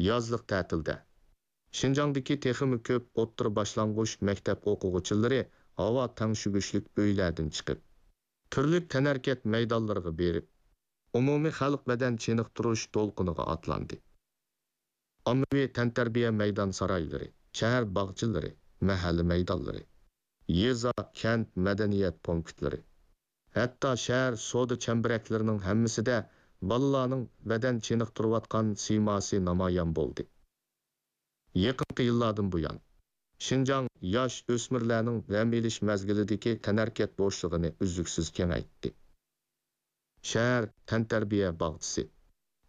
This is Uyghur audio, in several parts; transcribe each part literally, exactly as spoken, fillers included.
يازلىق تەتىلدە شىنجاڭدىكى تېخىمۇ كۆپ ئوتتۇرا باشلانغۇچ مەكتەپ ئوقۇغۇچىلىرى ھاۋا تەڭشىگۈچلۈك ئۆيلەردىن چىقىپ، تۈرلۈك تەنھەرىكەت مەيدانلىرىغا بېرىپ، ئومۇمىي خەلق بەدەن چېنىقتۇرۇش دولقۇنىغا ئاتلاندى. ئاممىۋى تەنتەربىيە مەيدان سارايلىرى، شەھەر باغچىلىرى، مەھەللە مەيدانلىرى، يېزا، كەنت مەدەنىيەت پونكىتلىرى، ھەتتا شەھەر سودا چەمبىرەكلىرىنىڭ ھەممىسىدە بالىلارنىڭ بەدەن چېنىقتۇرۇۋاتقان سىيماسى نامايان بولدى. يېقىنقى يىللاردىن بۇيان، شىنجاڭ ياش ئۆسمۈرلەرنىڭ دەم ئېلىش مەزگىلىدىكى تەنھەرىكەت بوشلۇقىنى ئۈزلۈكسىز كېڭەيتتى. شەھەر تەنتەربىيە باغچىسى،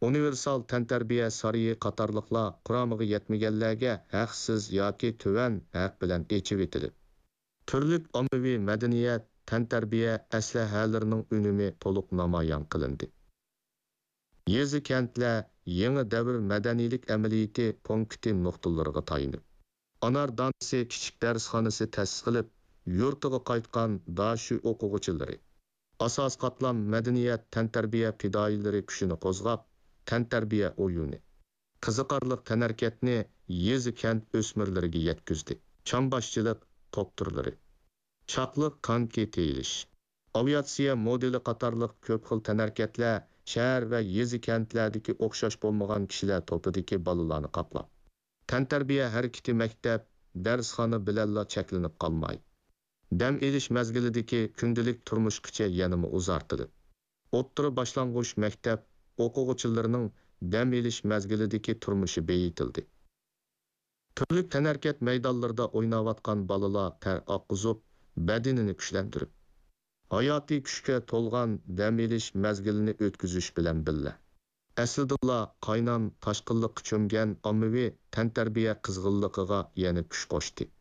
ئۇنىۋېرسال تەنتەربىيە سارىيى قاتارلىقلار قۇرامىغا يەتمىگەنلەرگە ھەقسىز ياكى تۆۋەن ھەق بىلەن ئېچىۋېتىلىپ، تۈرلۈك ئاممىۋى مەدەنىيەت، تەنتەربىيە ئەسلىھەلىرىنىڭ ئۈنۈمى تولۇق نامايان قىلىندى. يېزا-كەنتلەر يېڭى دەۋر مەدەنىيلىك ئەمەلىيىتى پونكىتى نۇقتىلىرىغا تايىنىپ، ئانار دانىسى كىچىك دەرسخانىسى تەسىس قىلىپ، يۇرتىغا قايتقان داشۈ ئوقۇغۇچىلىرى، ئاساسىي قاتلام مەدەنىيەت تەنتەربىيە پىدائىيلىرى كۈچىنى قوزغاپ، تەنتەربىيە ئويۇنى، قىزىقارلىق تەنھەرىكەتنى يېزا-كەنت ئۆسمۈرلىرىگە يەتكۈزدى. چامباشچىلىق توپ تۈرلىرى، چاقلىق كانكى تېيىلىش، ئاۋىئاتسىيە مودېلى قاتارلىق كۆپ خىل تەنھەرىكەتلەر شەھەر ۋە يېزا-كەنتلەردىكى ئوخشاش بولمىغان كىشىلەر توپىدىكى بالىلارنى قاپلاپ، تەنتەربىيە ھەرىكىتى مەكتەپ، دەرسخانا بىلەنلا چەكلىنىپ قالماي، دەم ئېلىش مەزگىلىدىكى كۈندىلىك تۇرمۇشقىچە يەنىمۇ ئۇزارتىلىپ، ئوتتۇرا باشلانغۇچ مەكتەپ ئوقۇغۇچىلىرىنىڭ دەم ئېلىش مەزگىلىدىكى تۇرمۇشى بېيىتىلدى. تۈرلۈك تەنھەرىكەت مەيدانلىرىدا ئويناۋاتقان بالىلار تەر ئاققۇزۇپ، بەدىنىنى كۈچلەندۈرۈپ، ھاياتىي كۈچكە تولغان دەم ئېلىش مەزگىلىنى ئۆتكۈزۈش بىلەن بىللە، ئەسلىدىنلا قاينام تاشقىنلىققا چۆمگەن ئاممىۋى تەنتەربىيە قىزغىنلىقىغا يەنە كۈچ قوشتى.